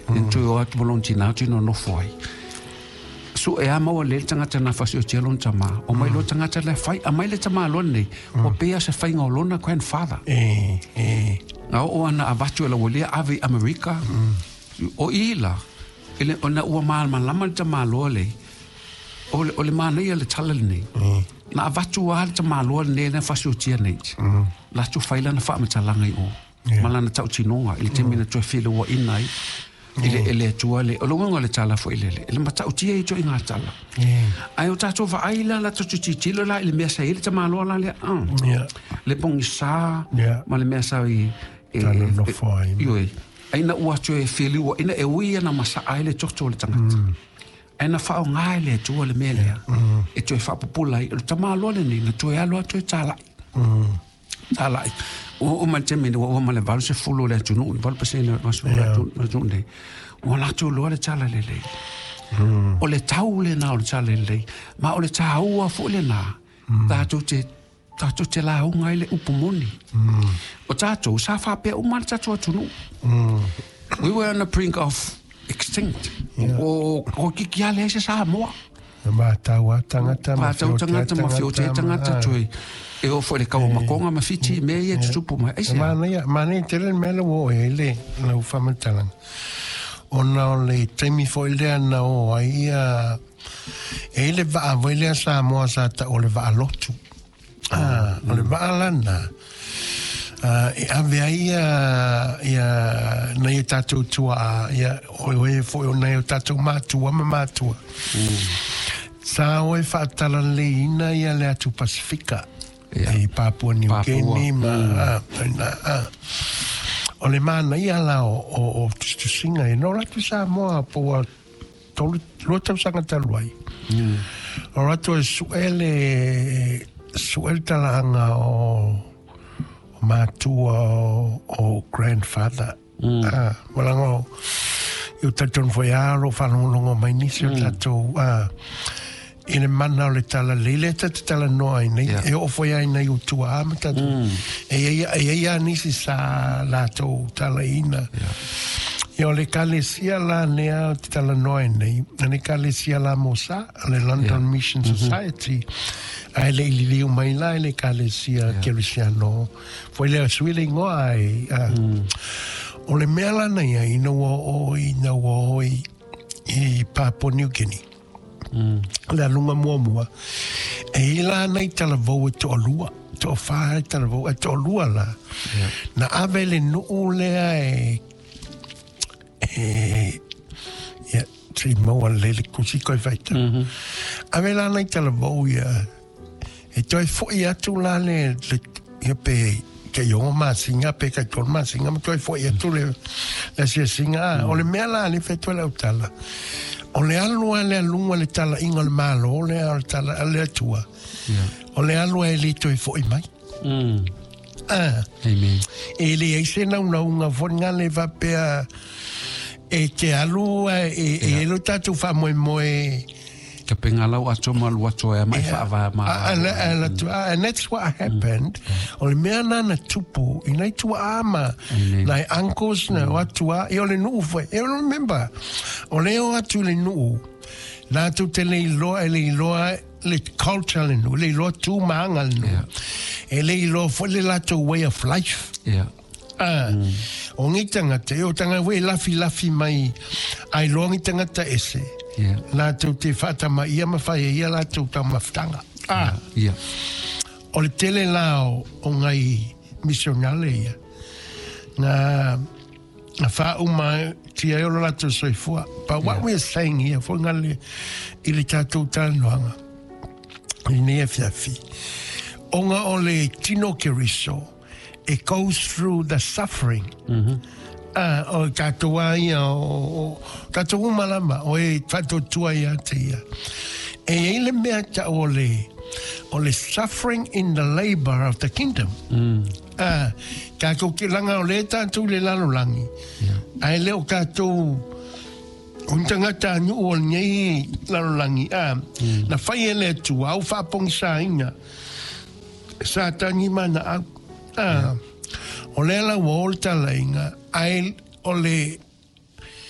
Na toe o atu ma lona tinā toe nonofo ai. Sue lava maua lelei le tagata na fasioti ai lona tamā. Omai loa le tagata lea fai, aumai le tamaloa lenei, ua pei lava o se faiga o lona grandfather. Na oo lava ina avatu e le aualia ave i Amerika. O i la, ona ua malamalama le tamaloa lea, o le manaia o le tala lenei, na avatu lava le tamaloa lenei na fasiotia nei, latou fai lana faamatalaga i o, ma lana tautinoga i le taimi na toe felauaiina ai i le Atua le, o le uiga o le tala foi lele, e matautia ia ituaiga tala. Ae o tatou vaai la, la tatou tilotilo la i le mea sa i ai le tamaloa la lea, le pogisa ma le mea sa i... Nonofo ai. Ioe. Ai na ua toe feliuaina e ui ia na masaa ai le toto o le tagata. Ae na faaaoga e le Atua le mea lea e toe faapupula ai. O le tamaloa lenei na toe alu lava toe talai. Talai. Ua oo mai le taimi ua ova ma le 80 o le atunuu, le 8% o le atunuu nei, ua latou iloa le tala lelei. O le tau lena o le tala lelei, ma o le taua foi lena tatou te tatou te lauga ai le upu moni. O tatou, sa faapea uma le tatou atunuu. We were on the brink of extinct. O toeitiiti lava leai se Samoa. E mātau a tangata ma Mātau tangata ma whiotea tangata toe e oo foi i le kau o Makonga ma Fiti mea ia e tutupu mai. Aisea? Manaia, manaia tele le mea lea ua oo i ai le lau faamatalaga. Ona o le taimi foi lea na oo ai ia E i ai le vaa foi lea Samoa sa tau o le vaa lotu. Ah, o le vaa lana e ave ai ia, ia nai o tatou tuaa, ia o e foi o nai o tatou matua ma matua. Sa o e faatalaleiina ia le atu Pasifika. I Papua New Guinea ma, ah, o le manaia la o tusitusiga ia. No atu Samoa po ua tolu, lua tausaga talu ai. O rātou e sue le, sue le talaaga o, o mātua o, o grandfather. Ah, walaga o, i o talitonu foi a o lo o faalogologo mai nisi o tatou, ah, i le mana o le tala lelei lea ta te talanoa ai nei, e oo foi ai nei o tuaa ma tatou. E i ai, e i ai a nisi sa latou talaiina. Ia o le ekalesia la lea ou te talanoa ai nei, o le ekalesia la mo sa, o le London Mission Society, ae le i liliu mai la i le ekalesia Kerisiano, foi lea sui le igoa ai. O le mea la na iai, ina ua oo ina ua oo i Papua New Guinea, le aluga muamua, e i ai la nai talavou e toalua, toafa e talavou, ae toalua la, na ave le nuu lea e, e, ia, se i maua lelei le kusi koe faitau. Ave la nai talavou ia, E toe foi atu la le, le ia pe kei 6 masina pe kei 3 masina ma toe foi atu le, le asiasiga. Mm. O le mea la le whai toe lau tala. O le alu a le alunga le tala inga o le malo le o le tala a le atua. Yeah. O le alu a e le toe foi mai. Mm. Ah. Amen. E le ai se naunauga foi ngā le whapea e te alu e, e, e lo tātou whamoemoe Ka penga lau ato ma lu ato e mai whaavae ma And that's what happened. O le mea nā na tupu, i nai tuaa ma, nai uncles na o atua, i o le nuu foi. E remember, o le o atu le nuu, lātou te le iloa, e le iloa le culture le nuu, le iloa tū maanga le nuu. E le iloa foi le lātou way of life. Ah, o ngi tangata, e o tanga we lafi lafi mai ai loa ngi tangata ese. Yeah. Lātou te whaatama ia ma whai e ia lātou taumafutanga. Ah. Yeah. O le tele la o, o ngai misionale ia. Ngā, ngā whāuma tia e o lo lātou soifua. But what we're saying here, fo ngā le, i le tātou tānoanga, i nei awhiawhi, o ngā o le tino keriso, it goes through the suffering. Ah, o tātou a ia, o, o, tātou uma lama, o e whatotua ia te ia. E i le mea ta o le, o le suffering in the labor of the kingdom. Ah, tātou ki langa o le tātou le lalolangi. Yeah. Ai le o tātou, o ni tangata anu o nei lalolangi. Ah, na whai e le atua, au whaapongisainga. Sa tangi mana au. Ah, o lea la ua o le talaiga, ae o le.